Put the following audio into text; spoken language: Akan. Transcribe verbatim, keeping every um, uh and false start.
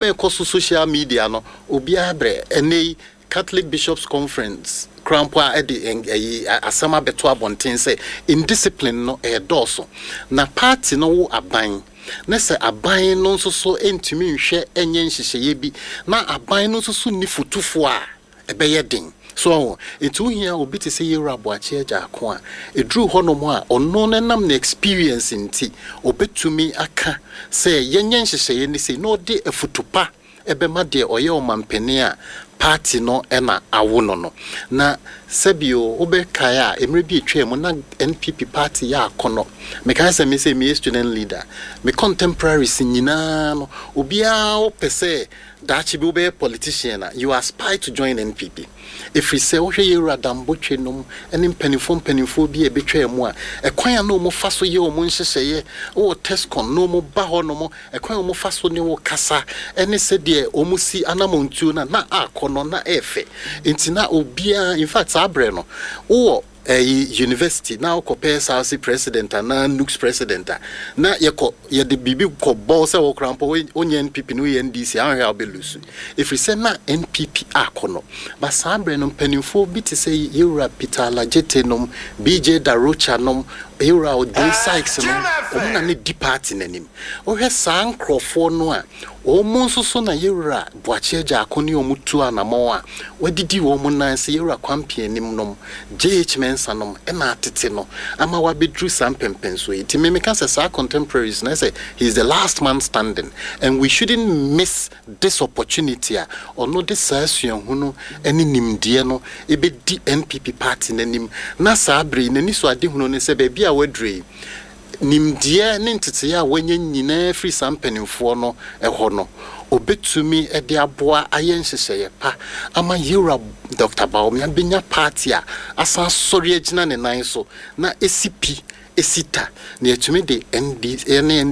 Ɛkɔ so social media no, obiara brɛ. Ɛnɛ yi Catholic Bishops Conference krampo a ɛde ɛyi asɛm abɛto abɔnten sɛ indiscipline no ɛyɛ dɔɔso na party no wo aban na sɛ aban no nso so ntumi nhwɛ ɛnyɛ nhyehyɛeɛ bi na aban no nso so ni fotufoɔ a ɛbɛyɛ den so ɔho. Nti wohia obi te sɛ Yɛwura Aboakye Agyarko a ɛduru hɔnom a ɔno no nam ne experience nti ɔbɛtumi aka sɛ yɛnyɛ nhyehyɛeɛ no sei na ɔde afutu pa ɛbɛma deɛ ɔyɛ ɔmampanin a party no ɛna awo no no Na sɛbio wobɛkae a, mmerɛ bi atwa mu na N P P party yɛ akɔnɔ. Mekae sɛ me sɛ meyɛ student leader, me contemporaries nyinaa no, obiara wopɛ sɛ daakye bi wobɛyɛ politician a, you aspire to join N P P, ɛfiri sɛ wohwɛ Yɛwura Dambotwe nom ne mpanimfoɔ mpanimfoɔ bi a ɛbɛtwaa mu a, ɛkwan a na ɔmo fa so yɛ ɔmo nhyehyɛeɛ wɔ TESCON na ɔmo ba hɔ nom, ɛkwan a ɔmo fa so ne wo kasa ɛne sɛdeɛ ɔmo si anamontuo no a na akɔ no na ɛɛfɛ. Nti na obiara, in fact, saa berɛ no wowɔ ɛyi university na wokɔpɛ S R C president anaa NUGS president a, na yɛkɔ yɛde biribi kɔ bɔ sɛ wɔkora mpo wonyɛ N P P no, woyɛ N D C, ahwɛ a wobɛlose, ɛfiri sɛ na N P P akɔ no. Ba saa berɛ no mpanimfoɔ bi te sɛ Yɛwura Peter Alagete nom, B J Darocha nom, Yɛwura Odin Sykes nom, ɔmo na ne di party n'anim. Wohwɛ saa nkurɔfoɔ no a, wɔn nso so na Yɛwura Boakye Agyarko ne wɔn tu anammɔn a wɔadidi wɔn nan sɛ Yɛwura Kwampe anim nom, J H Mensa nom, ɛna atete no ama wabɛduru saa mpɛmpɛnsoɔ yi. Nti memeka sɛ saa contemporaries na sɛ he is the last man standing and we shouldn't miss this opportunity a ɔno de saa suahunu ne nimdeɛ no ɛbɛdi N P P party n'anim. Na saa bere yi n'ani so adehunu ne sɛ baabi a waduru yi, nimdeɛ ne nteteeɛ a wanya nyinaa firi saa mpanimfoɔ no ɛhɔ no, obɛtumi de aboa ayɛ nhyehyɛeɛ pa ama Yɛwura Doctor Bawumia bɛnya party a asan asɔre agyina ne nan so na ɛsi pi ɛsi ta na yɛtumi de N D ne N D